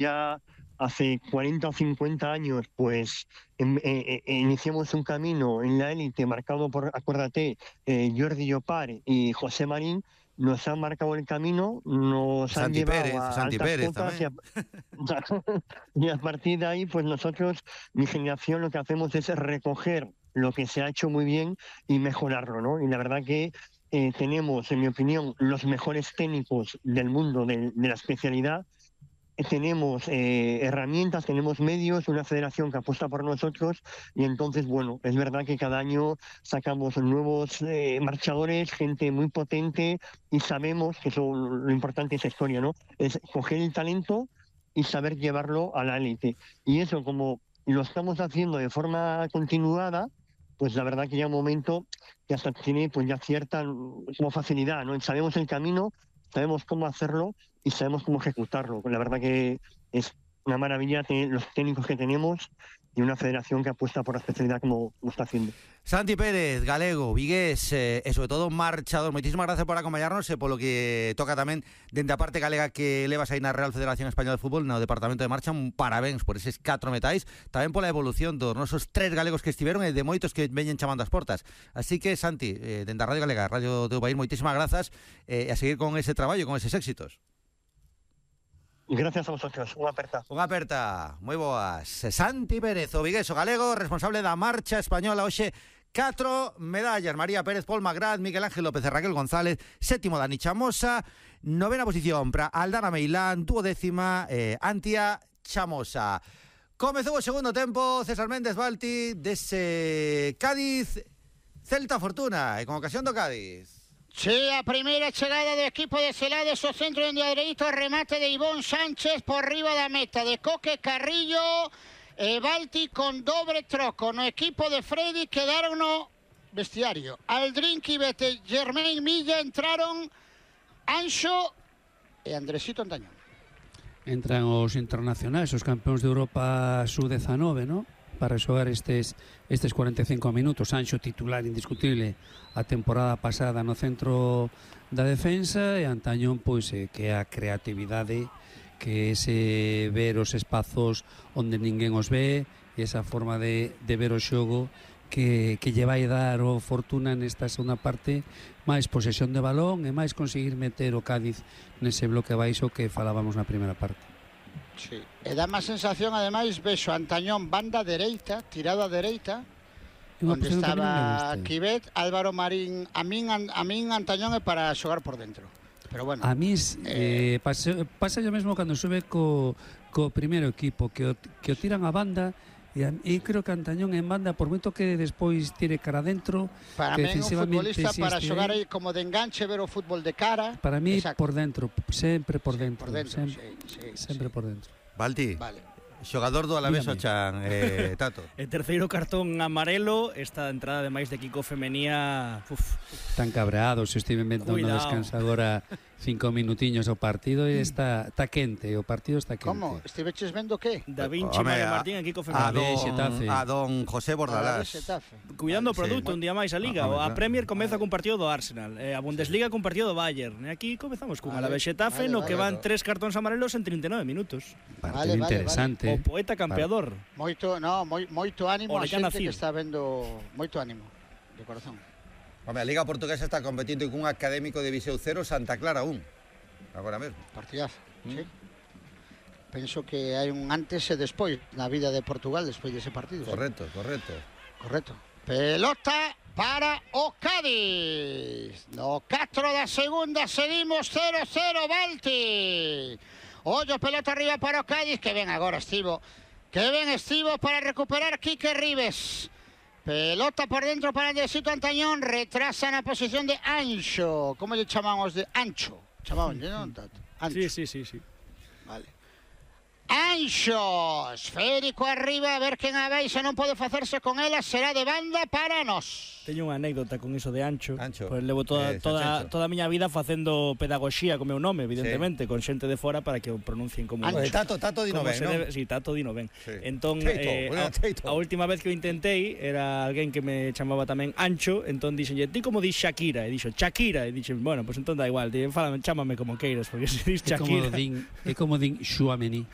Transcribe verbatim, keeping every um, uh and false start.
ya hace cuarenta o cincuenta años, pues em, eh, eh, iniciamos un camino en la élite marcado por, acuérdate, eh, Jordi Llopart y José Marín, nos han marcado el camino, nos Santi han llevado Pérez, a Santi altas Pérez cotas y a, tamén. y a partir de ahí, pues nosotros, mi generación, lo que hacemos es recoger lo que se ha hecho muy bien y mejorarlo, ¿no? Y la verdad que eh, tenemos, en mi opinión, los mejores técnicos del mundo de, de la especialidad. Tenemos eh, herramientas, tenemos medios, una federación que apuesta por nosotros y entonces, bueno, es verdad que cada año sacamos nuevos eh, marchadores, gente muy potente y sabemos que eso, lo importante es esa historia, ¿no? Es coger el talento y saber llevarlo a la élite. Y eso, como lo estamos haciendo de forma continuada, pues la verdad que llega un momento que hasta tiene pues ya cierta como facilidad, ¿no? Sabemos el camino, sabemos cómo hacerlo y sabemos cómo ejecutarlo. La verdad que es una maravilla tener los técnicos que tenemos y una federación que apuesta por la especialidad como lo está haciendo. Santi Pérez, galego, vigués, eh, e sobre todo marchador. Moitísimas gracias por acompañarnos e polo que toca tamén dende a parte galega que levas aí na Real Federación Española de Fútbol no Departamento de Marcha. Un parabéns por eses catro metais, tamén pola evolución dos nosos tres galegos que estiveron e de moitos que veñen chamando as portas. Así que, Santi, eh, dende a Radio Galega, Radio do País, moitísimas grazas eh, e a seguir con ese traballo, con eses éxitos. Gracias a vosotros, unha aperta. Unha aperta, moi boas. Santi Pérez, o vigueso galego, responsable da marcha española hoxe. Catro medallas, María Pérez, Paul Magrat, Miguel Ángel López e Raquel González. Sétimo Dani Chamosa. Novena posición para Aldana Meilán. Duodécima eh, Antia Chamosa. Comezou o segundo tempo. César Méndez Balti dese Cádiz Celta Fortuna e con ocasión do Cádiz. Sí, a primeira chegada do equipo de Celades, o centro onde a dereito, remate de Ivón Sánchez por riba da meta de Coque Carrillo e Balti con dobre troco no equipo de Freddy. Quedaron no vestiario Aldrin Quibet e Germain Milla, entraron Anxo e Andresito Antañón. Entran os internacionais, os campeóns de Europa sub diecinueve, ¿no? Para xogar estes estes cuarenta e cinco minutos. Anxo titular indiscutible a temporada pasada no centro da defensa e Antañón, pois, eh, que é a creatividade, que é ese ver os espazos onde ninguén os ve e esa forma de, de ver o xogo que, que lle vai dar o Fortuna nesta segunda parte, máis posesión de balón e máis conseguir meter o Cádiz nese bloque baixo que falábamos na primeira parte. Sí. E dá má sensación, ademais, vexo Antañón banda dereita, tirado a dereita, onde estaba Quibet, Álvaro Marín. A min, a min Antañón é para xogar por dentro. Pero bueno, a mí eh, eh, pasa, pasa yo mesmo cando sube co, co primeiro equipo, que o, que o tiran a banda. E, e creo que Antañón en banda, por moito que despois tire cara dentro, para que mí un futbolista si para xogar aí, aí como de enganche, ver o fútbol de cara. Para mí, exacto, por dentro, sempre por sí, dentro, por dentro sempre, sí, sí, sempre sí. por dentro. Balti, vale. Xogador do Alavés o Chan, eh, Tato. E terceiro cartón amarelo, esta entrada ademais de Kiko Femenía, uf. Tan cabreados, estive vendo no descanso agora cinco minutiños o partido e está, está quente, o partido está quente. Como? Estiveches vendo que? Da Vinci, Mario Martín e Kiko Femenía. A don, a don José Bordalás. Cuidando o produto, sí, un día máis a Liga. Ah, a Premier comeza cun partido do Arsenal, eh, a Bundesliga cun partido do Bayern. E aquí comezamos cun Alavés Xetafe, vale, no que van vale, tres cartóns amarelos en trinta e nove minutos. Partido vale, interesante. Vale. O poeta campeador. Vale. Moito, no, moi, moito ánimo a xente Cid, que está vendo, moito ánimo, de corazón. Home, a Liga Portuguesa está competindo con un académico de Viseu cero, Santa Clara un. Agora mesmo. Partidazo, mm. sí. Penso que hai un antes e despois na vida de Portugal despois dese partido. Correcto, sí, correcto. Correcto. Pelota para o Cádiz. No catro da segunda seguimos cero cero, Balti. Ollo, pelota arriba para o Cádiz, que ven agora Estivo. Que ven Estivo para recuperar Quique Ribes. Pelota por dentro para Andresito Antañón, retrasa na posición de Anxo. Como lle chamamos de Ancho? Chamaban, non, Tato? Ancho. Sí, sí, sí, sí. Vale. Anxo, esférico arriba, a ver quen a vai, se non pode facerse con ela, será de banda para nós. Teño unha anécdota con iso de Ancho. Ancho. Pues levo toda, eh, toda, toda a miña vida facendo pedagogía co meu nome, evidentemente, sí, con xente de fora para que o pronuncien como Ancho. Tato, Tato dino ben, non? Si, sí, Tato dino ben. Sí. Entón, Teito, eh, bueno, a, a última vez que o intentei era alguén que me chamaba tamén Ancho, entón dixenlle, ti como dis Shakira? E dixo, Shakira, e dixen, bueno, pues entón da igual, di, fálame, chámame como queiras, porque se dis Shakira. É como din, é como din Xuamení.